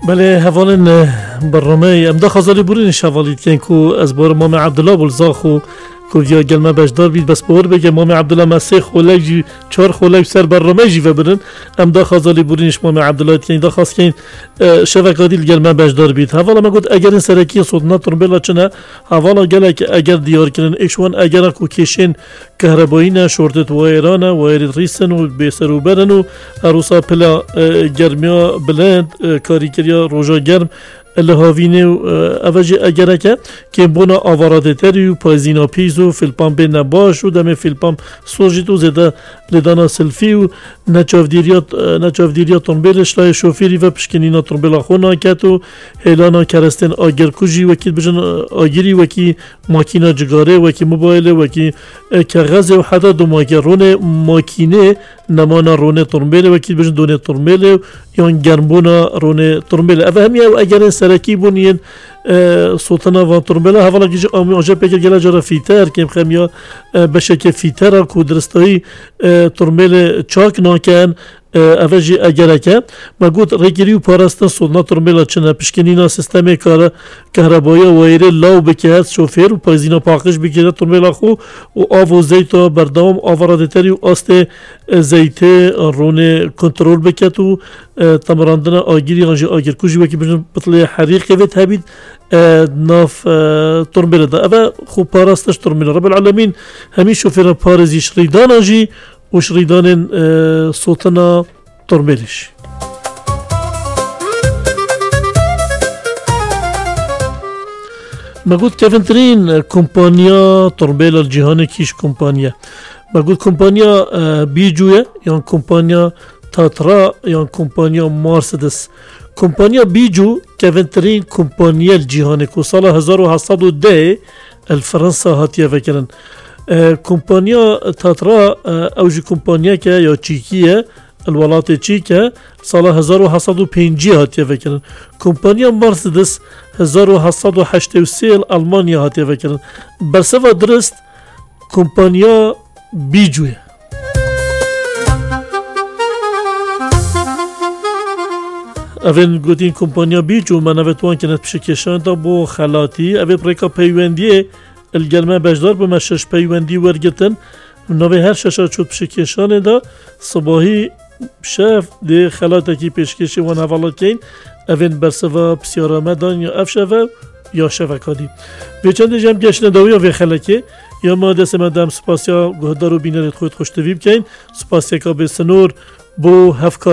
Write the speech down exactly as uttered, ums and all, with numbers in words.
Belê hevalên, e, bernameya em daxwaza lêborînê ji hevalî dikin ku ez bawerim Mamê Ebdullah bû li Zaxo ku viya gel me beşdar bît, bes bawer bike Mamê Ebdullah me sê xolek jî, çar xolek ser bername jî vebirin. Em daxwaza lêborînê ji Mamê Ebdullah dikin, daxwaz dikin, e, şeveka dî li gel me beşdar bît. Hevala me got egerên serekî sotina tirmbêla çi ne? Hevala gelek eger diyar kirin. Êk ji wan egera ku kêşên kehrebayî ne, şortê wayêran e, wayêrê rîs in û bêserûber in û her wisa pila, e, germiya bilind, e, karîkeriya roja germ, e, li havînê û, e, ev jî egerek e. Kêmbûna avaradêterî û payzîna pîs û fîlpan bên nebaş û demê fîlpan sojît û zêde lêdana silfî û neçavdîriya, e, neçavdîriya tombêlê ji layê şofêrî ve pişkinîna tombêla xwe naket û hêlana kerestên agirkujî wekî dibêjin, e, agirî wekî makîna cigarê, wekî mobaylê, wekî, e, kexezê û heta domake ronê makînê, nemana ronê tirmbêlê, wekî dibêjin donê tirmbêlê û yan germbûna ronê tirmbêlê. Ev hemiya ew egerên serekî bûn yên, e, sotina van tirmbêla. Hevalekî jî amû-, amûje pê kir gele cara fîter, kêmxemiya, e, beşeke fîtera ku diristayî, e, tirmbêlê çak nakin, e, ev jî egerek e. Me got rêgirî û parastin sotina tirmbêla çi ne, pişkinîna sîstemê kare, kehrebayiya wayîrê law bike, şofêr û payzîna paqij bigire tirmbêla xwe û av û zeyta berdewam avara dêterî û astê, e, zeytê ronê kontrol biket û, e, temirandina agirî yan jî agirkujî wekî bijin pitlê herîqê vêt hebît, e, nav, e, tirmbêlê de. Ev e xwe parastiş tirmbêlê. Rebel Alemîn hemî şofêra parêzî ji rîdana jî û ji rîdanên, e, sotina tirmbêlê jî. Me got kevintirîn kompaniya tirmbêla li cîhanê kî ji kompaniye? Me got kompaniya, e, Bijou ye, yan kompaniya Tatra, yan kompaniya Mercedes. Kompaniya Bijou kevintirîn kompaniye li cîhanê ku sala hezar û heft sed û deh li Fransa hatiye vekirin. E, kompaniya Tatra, e, ew jî kompaniyeke ya çîkî ye, li welatê Çîk e, sala hezar û heft sed û pêncî hatiye vekirin. Kompaniya Mercedes hezar û heft sed û heştê û sê li Almanya hatiye vekirin. Bersiva dirist kompaniya Bijou ye. Evên gotîn kompaniya Bijou, me navê wan kene pişikêşan da bo xelatî. Evê bi rêka peywendiyê li gel me beşdar bû, me şeş peywendî wergirtin. Navê her şeşa çû pişikêşanê de sibahî şev dê xelatekî pêşkêşî wan hevala dikeyn. Evên bersiva pisyara me dan ya ev şev e ya şeveka dî. Vê çendê jî em geştine dawiya vê xelekê. Ya ma destê me de em spasiya guhdar û bînerê xwe xweştivî bikeyn. Spasiyeka bê sinor bo hevka